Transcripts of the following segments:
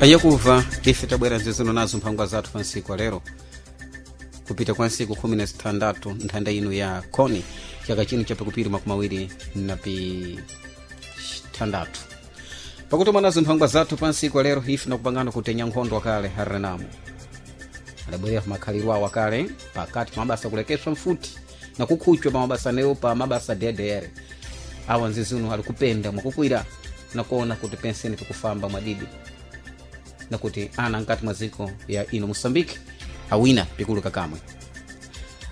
Ayakuva ife tabwera zizino nazo mphangwa zathu pa ntsiku lero kupita kwa ntsiku 16 nthanda ino ya koni chaka chino chapikupiri 26 pakutoma nazo mphangwa zathu pa ntsiku lero ife nakupangana kutenya nkhondo akale harenamo adabwerera makhaliro awo akale pakati pa mabasa kulekeswa mfuti na kukhutchwa pa mabasa newo pa mabasa ddr awa nzizino ali kupenda mwakukwira nakuona kuti penseni pikufamba mwadidi nakuti ana nkati mwa dziko ya ino moçambique awina pikuluka kamwe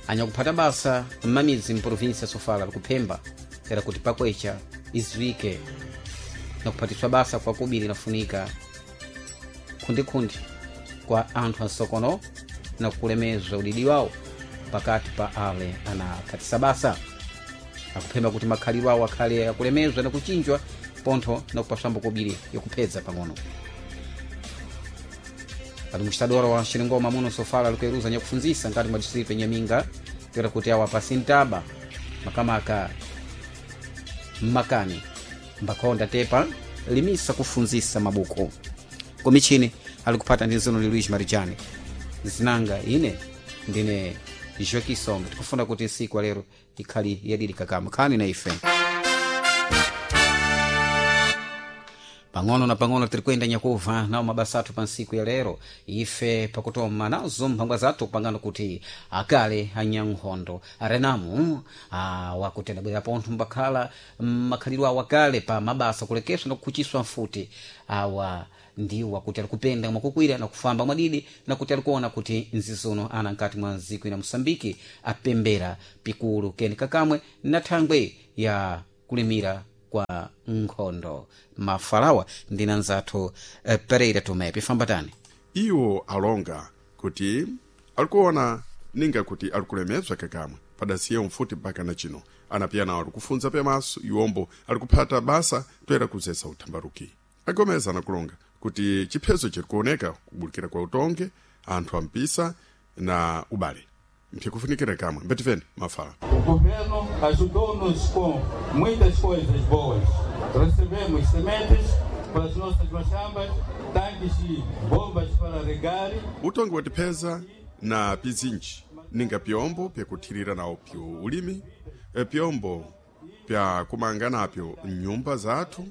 anyakuphata basa mmamidzi mprovinsia sofala likuphemba era kuti pakwecha iziwike nakuphatiswa basa kwa kubiri nafunika khundikhundi kwa anthu ansokono nakulemezwa udidi wawo pakati pa ale anaphatisa basa akuphemba kuti makhalidwe awo akhale akulemezwa nakuchinjwa pontho nakupaswambo kobiri yakuphedza pang'ono administradora wa xilingoma muno sofala likueruza nyakufunzisa nkati mwa distrito ya nyaminga toera kuti awa pasintaba makamaka mmakani mbakhonda tepa limisa kufunzisa mabuku komichini ali kuphata ndi nzino li luis marijani zinanga ine ndine joaquim sombe tikufuna kuti ntsiku lero ikhali yadidi kakama khani na ife pang'ono na pang'ono tiri kuyenda nyakuva nawo mabasa athu pa ntsiku ya lero ife pakutoma nazo mphangwa zathu kupangana kuti akale anyankhondo arenamu wakuti adabwera pontho mbakhala makhalidwe awo akale pa mabasa kulekeswa na kukhuchiswa mfuti awa ndiwo akuti alikupenda mwakukwira na kufamba mwadidi nakuti alikuona kuti nzizono ana nkati mwa nziko ina moçambike apembera pikulu keni kakamwe na thangwe ya kulimira kwa nkhondo mafalawa ndina nzathu pereira tomé pifambatani iwo alonga kuti alikuona ninga kuti alikulemezwa kakamwe padasiye mfuti mpaka na chino anapiyana alikufunza pemaso iwombo alikuphata basa toera kuzesa uthambaruki agomeza anakulonga kuti chiphezo chirikuoneka kubulikira kwa utonge anthu ampisa na ubale mpikufunikira kamwe mbetifeni mafala O governo ajudou-nos com muitas coisas boas. Recebemos sementes para as nossas machambas, tanques e bombas para regar. utongi watipeza na pizinji ninga pyombo pyakuthirira nawo pyo ulimi pyombo pya kumanga napyo nyumba zathu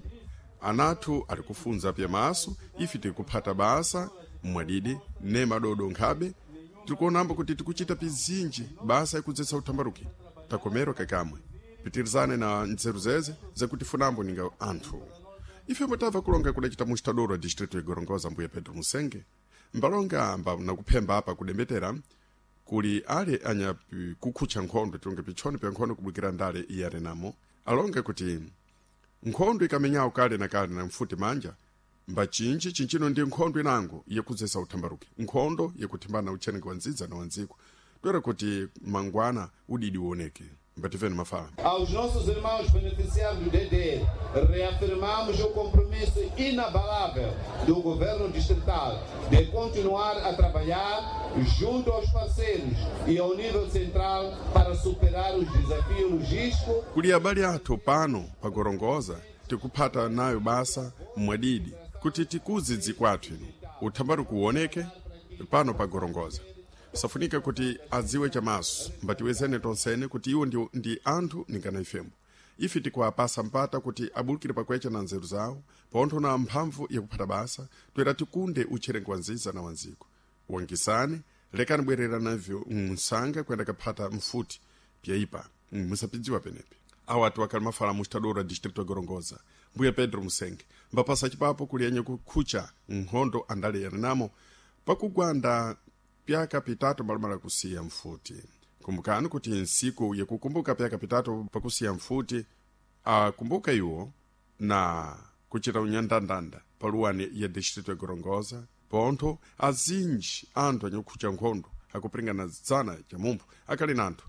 anathu ali kufunza pyamaso ife tikuphata basa mwadidi ne madodo nkhabe tikuonambo kuti tikuchita pizinji basa ikudzetsa uthambaruki takomerwa kakamwe pitirizane na nzeru zeze zakuti funambo ninga anthu ife mutava kulonga kudacita mustadoro wa distrito igorongoza mbuya pedro musenge mbalonga amba nakuphemba apa kudembetera kuli ale anya kukhutcha nkhondo tilonge pitchoni pya nkhondo kubwikira ndale iyarenamo alonge kuti nkhondo ikamenyawo kale na kale na mfuti manja mbachinji chinchino ndi nkhondo inango yekudzesa uthambaruki nkhondo yekuthimbana utcheneke wa nzidza na wandziko toera kuti mangwana udidi uoneke mbativeni mafala Aos nossos irmãos beneficiários do DDR, reafirmamos o compromisso inabalável do governo distrital de continuar a trabalhar junto aos parceiros e ao nível central para superar os desafios logísticos kuli abale athu pano pagorongoza tikuphata nayo basa mwadidi kuti tikuze dziko athu ino uthambaruki uoneke pano pagorongoza safunika kuti adziwe chamaso mbatiwezene tonsene kuti iwo ndi anthu ningana ifembo ife tikuwapasa mpata kuti abulukire pakwecha na nzeru zawo pontho na mphamvu yakuphata basa toera tikunde utcherengo wa nziza na wanziko wangisane lekani bwerera navyo msanga kuyenda kaphata mfuti pyaipa musapidziwa penepe awa atu akali mafala mustadora distrito ya gorongoza mbuya pedro musenge mbapasa chipapo kuli yenye kukhucha nkhondo andale yarenamo pakugwanda pyaka pitatu mbalomala kusiya mfuti kumbukani kuti nsiku yakukumbuka pyaka pitatu pakusiya mfuti akumbuka iwo na kuchita unyandandanda paluwani ya distrito ya gorongoza pontho azinji anthu anyakukhucha nkhondo akupiringana dzana chamumpho akali na anthu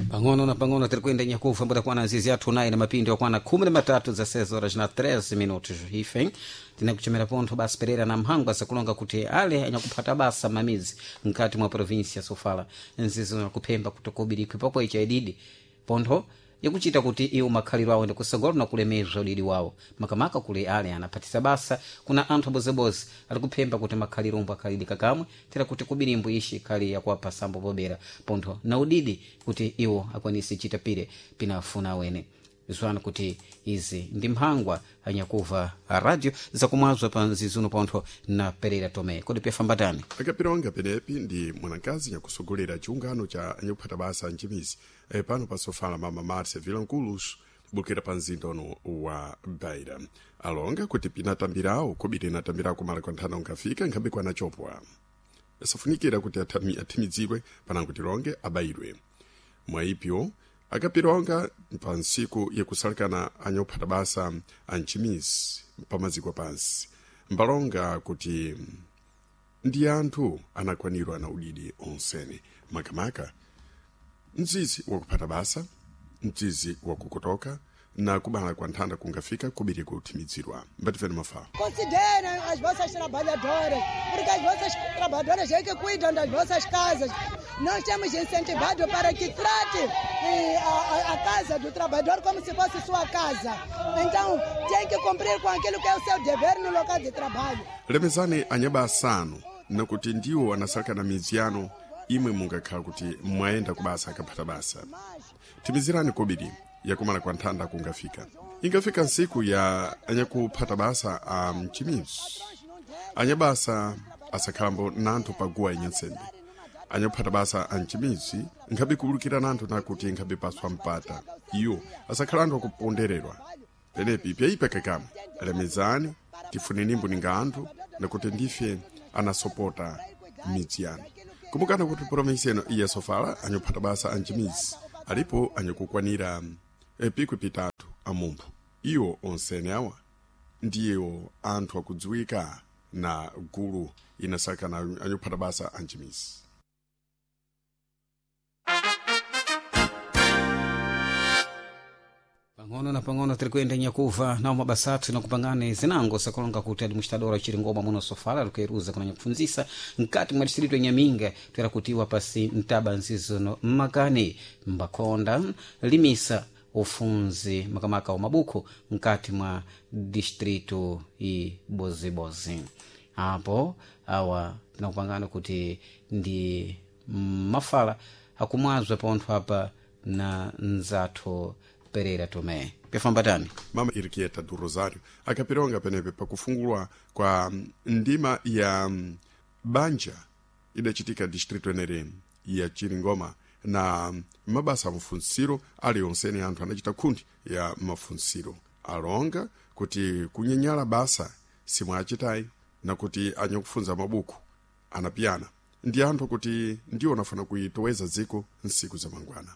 pang'ono na pang'ono tiri kuyenda nyakufa mbutakwana azizi athu nayi na mapindi wakwana 13 za 6 horas na 13 minutos ife tinakuchemera pontho basi perera na mphangwa zakulonga kuti ale anyakuphata basa mamizi mkati mwa provinsia sofala nzizo nakuphemba kuti kobirikwi pakwecha ididi pontho Yakuchita kuti iwo makhaliro awo ndikusogolo na kulemezwa udidi wawo, makamaka kuli ale anaphatisa basa kuna anthu abozebozi ali kuphemba kuti makhaliro omwe akhalidi kakamwe tera kuti kubirimbo ishi khali yakuwapha sambo pobera pontho na udidi kuti iwo akwanise chita pire pinafuna awene. Zwanu kuti izi ndi mphangwa anyakuva radio zakumwazwa pa nzizuno pontho na Pereira Tomé. Kodi pyafambatani? Akapilonga penepi ndi mwanakazi nyakusogolera chiungano cha anyakuphata basa mchimizi pano pasofala mama Marcia Vilanculos bukira pa mzinda uno wa Beira. Alonga kuti pinatambirawo kobiri inatambirawo kumala kwa nthanda unkafika nkhabe kwanachopwa safunikira kuti athimidzidwe panango tilonge abayidwe. Mwaipyo akapilonga pa ntsiku yakusalekana anyakuphata basa anchimizi pamaziko pansi mbalonga kuti ndi anthu anakwanirwa na udidi onsene, makamaka mzizi wakuphata basa, mzizi wakukotoka na kubala kwa nthanda kungafika kubiri kuthimidzirwa. Mbatifeni mafala. Considerem as vossas trabalhadoras, porque as vossas trabalhadoras é que cuidam das vossas casas. Nós temos incentivado para que trate a casa do trabalhador como se fosse sua casa. Então, tem que cumprir com aquilo que é o seu dever no local de trabalho. Lemezani anyaba asanu nakuti ndiwo anasalekana midzi yanu imwe mungakhala kuti mwayenda kubasa akaphata basa. Timizirani kobiri yakumala kwa nthanda kungafika. Ingafika ntsiku ya anyakuphata basa a mchimizi, anyabasa asakhalambo nanthu paguwa inyansembe. Anyakuphata basa a mchimizi nkhabe kuwulukira nanthu nakuti nkhabe paswa mpata iwo asakhala anthu akupondererwa. Penepi pyaipa kakamwe lemezani tifunenimbo ninga anthu nakuti ndife anasopota midzi yanu. Kumbukani kuti promisi ino iya sofala anyakuphata basa a mchimizi alipo anyakukwanira pikwi pitatu amumphu. Iwo onsene awa ndiwo anthu akudziwika na gulu inasakana anyakuphata basa anchimizi. Pang'ono na pang'ono tiri kuyenda nyakuva nawo mabasa athu nakupangani zinango sakulonga kuti administradora chiringoma muno sofala likuyeruza kuna nyakufunzisa mkati mwa distrito ya Nyaminga twera kutiwa pasi mtaba nzizono mmakani mbakonda limisa ufunzi makamaka wa mabuku mkati mwa distrito ibozibozi. Apo awa tinakupangana kuti ndi mafala akumwazwa pontho apa na nzathu Pereira Tomé. Pyafambatani? Mama Irquieta do Rosário akapilonga penepe pakufungulwa kwa ndima ya banja idachitika distrito enere ya Chiringoma na mabasa a mafunsiro ali onsene anthu anachita khundi ya mafunsiro. Alonga kuti kunyenyala basa simwachitayi nakuti anyakufunza mabuku anapiyana ndi anthu kuti ndiwo anafuna kuitoweza dziko nsiku za mangwana.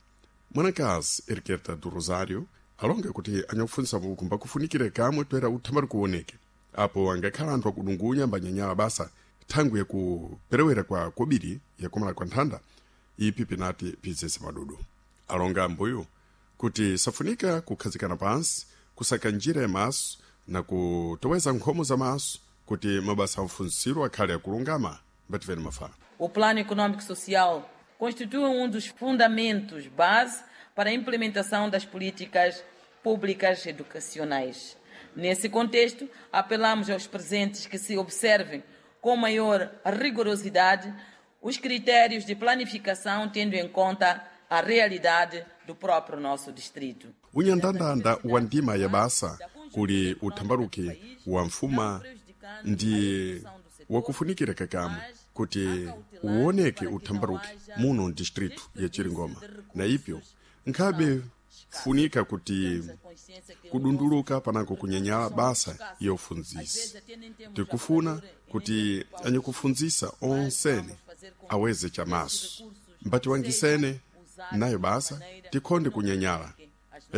Mwanakazi Erqueta do Rosário alonga kuti anyakufunzisa mabuku mbakufunikire kamwe toera uthambali kuoneke apo angakhala anthu akudungunya mbanyanyala basa thangwi yakuperewera kwa kobiri yakumala kwa nthanda ipi pinati pizese madudu. Alonga ambuyo kuti safunika kukhazikana pansi kusaka njira ya maso na kutoweza nkhomo za maso kuti mabasa amfunsiro akhale akulungama. Mbativeni mafala. O Plano Econômico Social constitui um dos fundamentos base para a implementação das políticas públicas educacionais. Nesse contexto, apelamos aos presentes que se observem com maior rigorosidade os critérios de planificação, tendo em conta a realidade do próprio nosso distrito. Unyandandanda wa ndima ya basa kuli uthambaluki wa mfuma ndi wakufunikira kakamwe kuti uoneke uthambaluki muno distrito ya Chiringoma na ipyo nkhabe funika kuti kudunduluka panako kunyanyala basa yofunzisa. Tikufuna kuti anyakufunzisa onsene aweze chamaso mbatiwangisene nayo basa tikhonde kunyanyala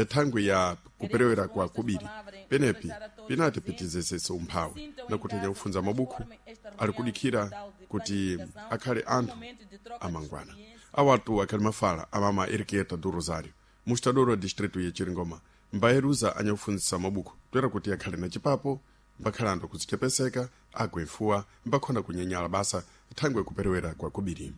thangwi ya kuperewera kwa kubiri penepi pinati pitizesese umphawi nakuti anyakufunza mabuku ali kudikhira kuti akhale anthu amangwana. Awatu akhali mafala amama Erquieta do Rosário mustadoro wa distrito ya Chiringoma mbayeruza anyakufunzisa mabuku toera kuti akhale na chipapo mbakhala anthu kuzichepeseka agwefuwa mbakhonda kunyanyala basa thangwi kuperewera kwa kubiri.